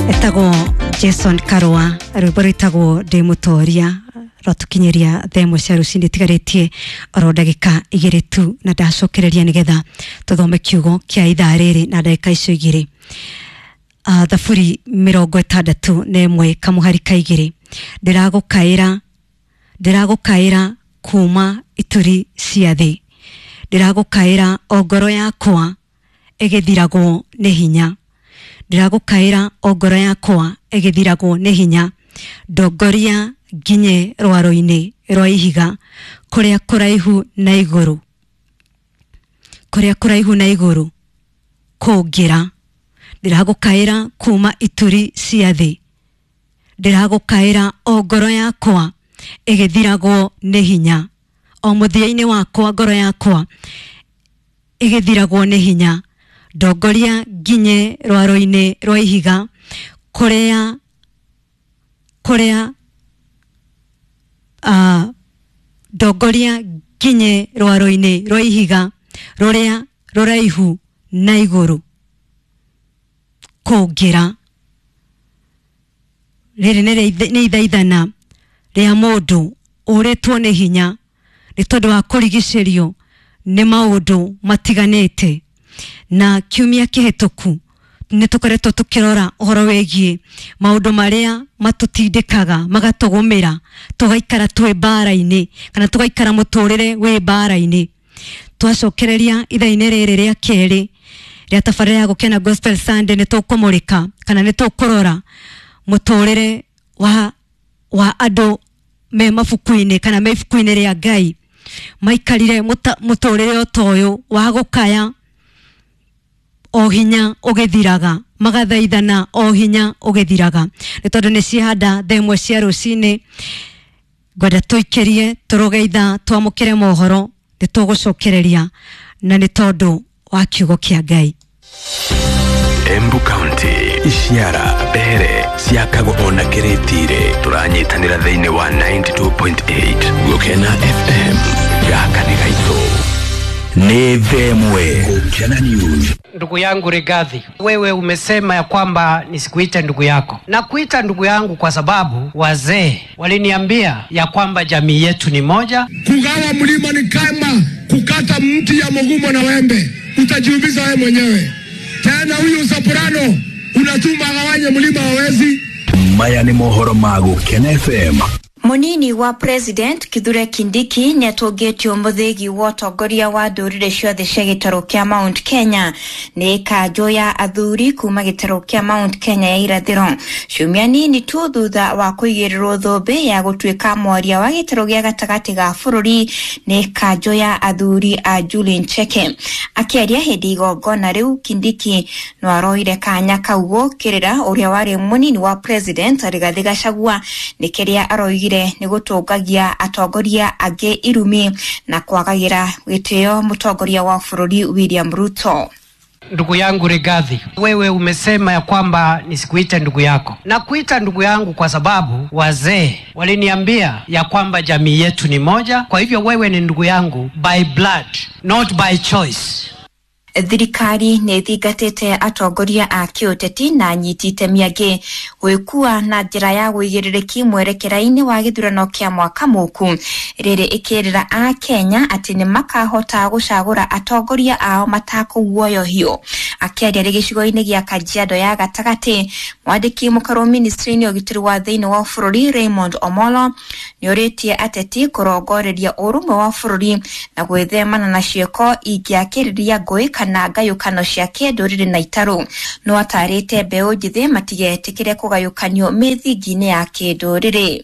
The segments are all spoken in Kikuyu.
Etagwo Jason Karua, rwĩmbo rwĩtagwo Ndĩ Mũtoria, rwatũkinyĩria thaa ĩmwe cia rũcinĩ itigarĩtie oro ndagĩka igĩrĩ tu, na ndacokereria nĩgetha tũthome kiugo kĩa ithaa rĩrĩ na ndagĩka icio igĩrĩ. Thaburi 61 kamũhari ka 2, ndĩragũkaĩra, ndĩragũkaĩra kuma ituri cia thĩ, ndĩragũkaĩra o ngoro yakwa ĩgĩthiragwo nĩ hinya, ndĩragũkaĩra o ngoro yakwa ĩgĩthiragwo nĩ hinya, ndongoria nginye rwaro-inĩ rwa ihiga kũrĩa kũraihu na igũrũ, kũrĩa kũraihu na igũrũ kũngĩra, ndĩragũkaĩra kuma ituri cia thĩ, ndĩragũkaĩra o ngoro yakwa ĩgĩthiragwo nĩ hinya, o mũthia-inĩ wakwa ngoro yakwa ĩgĩthiragwo nĩ hinya, ndongoria nginye rwaro-inĩ rwa ihiga kũrĩa kũrĩa ndongoria nginye rwaro-inĩ rwa ihiga rũrĩa rũraihu na igũrũ kũngĩra. Rĩrĩ nĩ ithaithana rĩa mũndũ ũrĩtwo nĩ hinya nĩ tondũ wa kũrigicĩrio nĩ maũndũ matiganĩte. Na kiumia kĩhĩtũku nĩ tũkoretwo tũkĩrora ũhoro wĩgiĩ maũndũ marĩa matũtindĩkaga magatũgũmĩra tũgaikara twĩ mbara-inĩ kana tũgaikara mũtũrĩre wĩ mbara-inĩ. Twacokereria ithaa-inĩ rĩrĩ rĩa kerĩ rĩa tabarĩra ya Gũkena Gospel Sunday, nĩ tũkũmũrĩka kana nĩ tũkũrora mũtũrĩre wa andũ me mabuku-inĩ kana me ibuku-inĩ rĩa Ngai maikarire mũtũrĩre o ta ũyũ wa gũkaya o hinya ũgĩthiraga, magathaithana o hinya ũgĩthiraga. Nĩ tondũ nĩ ciahanda thaa ĩmwe cia rũcinĩ, ngwenda tũikĩrie tũrũge ithaa twamũkĩre mohoro, nĩ tũgũcokereria na nĩ tondũ wa kiugo kĩa Ngai. Embu County, Ishiara, Mbere, ciakagwo ona Kĩrĩtire, tũranyitanĩra thĩinĩ wa 92.8 Gũkena FM, gaka nĩ gaitũ. Nĩ themwe Gũkena News. Ndugu yangu Rigathi, wewe umesema ya kwamba nisikuite ndugu yako. Nakuita ndugu yangu kwa sababu wazee waliniambia ya kwamba jamii yetu ni moja. Kugawa mlima ni kama kukata mti ya mugumo na wembe, utajiumiza wewe mwenyewe. Tena huyu soprano unatuma agawanye mlima hawezi. Maya nĩ mohoro ma Gũkena FM. Munini wa President Kithure Kindiki nĩatũngĩtio mũthĩgi wa ũtongoria wa ndũrĩrĩ ciothe cia gĩtarũ kĩa Mount Kenya nĩ kanjũ ya athuri kuma gĩtarũ kĩa Mount Kenya ya irathĩro, ciumia nini tu thutha wa kũigĩrĩrwo thũmbĩ ya gũtuĩka mwaria wa gĩtarũ gĩa gatagatĩ ga bũrũri nĩ kanjũ ya athuri a Julian Cheke. Akĩaria hĩndĩ igongona rĩu, Kindiki no aroire kanya kau gũkĩrĩra ũrĩa warĩ mũnini wa President Rigathi Gachagua nĩ kĩrĩa aroigire nĩ gũtũngagia atongoria angĩ irumi na kwagagĩra gĩtĩo mũtongoria wa bũrũri William Ruto. Ndugu yangu Rigathi, wewe umesema ya kwamba nisikuite ndugu yako. Nakuita ndugu yangu kwa sababu wazee waliniambia ya kwamba jamii yetu ni moja. Kwa hivyo wewe ni ndugu yangu by blood, not by choice. Thirikari nĩ ĩthingatĩte atongoria a kĩũteti na anyiti itemi angĩ gwĩkua na njĩra ya ũigĩrĩrĩki mwerekera-inĩ wa gĩthurano kĩa mwaka mũku, rĩrĩ ĩkĩrĩra a Kenya atĩ nĩ makahota gũcagũra atongoria ao matakũguoyohio. Akĩaria rĩ gĩcigo-inĩ gĩa Kajiado ya gatagatĩ, mwandĩki mũkarũ ministry-inĩ ũgitĩri wa thĩinĩ wa bũrũri Raymond Omolo nĩorĩtie ateti kũrongoreria ũrũmwe wa bũrũri na gwĩthemana na ciĩko ingĩakĩrĩria ngũĩ kana ngayũkano cia kĩndũrĩrĩ na itarũ. No atarĩte mbeũ njĩthĩ matigetĩkĩre kũgayũkanio mĩthingi-inĩ ya kĩndũrĩrĩ.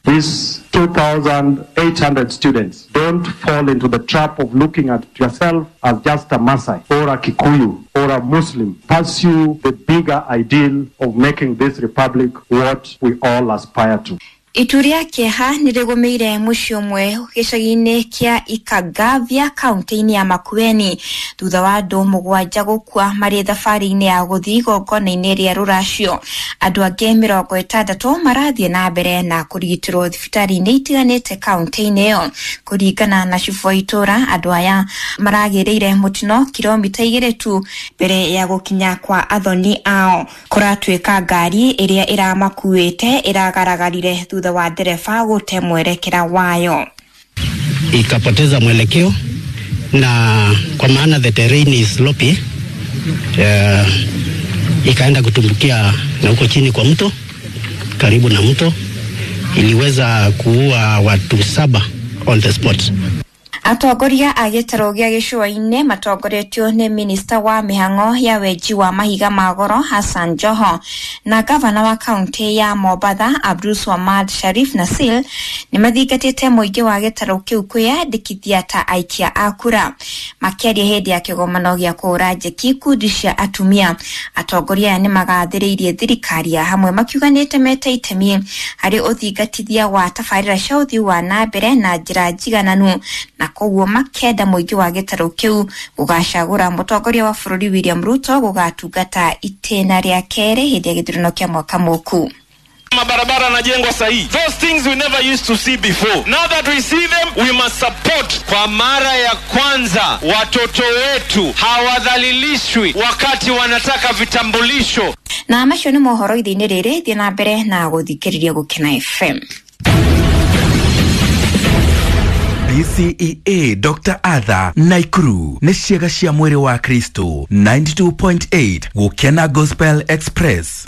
These 2,800 students, don't fall into the trap of looking at yourself as just a Maasai or a Kikuyu or a Muslim. Pursue the bigger ideal of making this republic what we all aspire to. Itu rĩa kĩeha nĩ rĩgũmĩire mũciĩ ũmwe gĩcagi-inĩ kĩa Ikagavia kaunti-inĩ ya Makueni thutha wa andũ 7 gũkua marĩ thabarĩ-inĩ ya gũthiĩ igongona-inĩ rĩa rũracio. Andũ angĩ 60 marathiĩ na mbere na kũrigitĩrwo thibitarĩ-inĩ itiganĩte kaunti-inĩ ĩyo. Kũringana na cibũ wa itũũra, andũ aya maragĩrĩire mũtino kilomita 2 tu mbere ya gũkinya kwa athoni ao. Kũratuĩka ngari ĩrĩa ĩramakuĩte ĩragaragarire thutha wa ndereba gũte mwerekera wayo. Ikapoteza mwelekeo, na kwa maana the terrain is slopy, ikaenda kutumbukia na huko chini kwa mto, karibu na mto. Iliweza kuua watu 7 on the spot. Atongoria a gĩtarũ gĩa gĩcũa-inĩ matongoretio nĩ minista wa mĩhang'o ya wenji wa mahiga ma goro Hassan Joho na gavana wa kaunti ya Mombatha Abdul Swamad Sharif Nasil nĩ mathingatĩte mũingĩ wa gĩtarũ kĩu kwĩyandĩkithia ta aikia a kura. Makĩaria hĩndĩ ya kĩgomano gĩa kũhũra njeki ikundi cia atumia, atongoria aya nĩ magathĩrĩirie thirikari ya hamwe makiuga nĩ ĩtemete itemi harĩ ũthingatithia wa tabarĩra cia ũthii wa na mbere na njĩra njigananu, na koguo makenda mũingĩ wa gĩtarũ kĩu gũgacagũra mũtongoria wa bũrũri William Ruto gũgatungata itĩna rĩa kerĩ hĩndĩ ya gĩthurano kĩa mwaka mũku. Mabarabara yanajengwa sahihi. Those things we never used to see before. Now that we see them, we must support. Kwa mara ya kwanza watoto wetu hawadhalilishwi wakati wanataka vitambulisho. Na macio nĩ mohoro ithe-inĩ rĩrĩ, thiĩ na mbere na gũthikĩrĩria Gũkena FM. BCEA Dr. Arthur Naikuru nĩ ciĩga cia mwĩrĩ wa Kristo 92.8 Gũkena Gospel Express.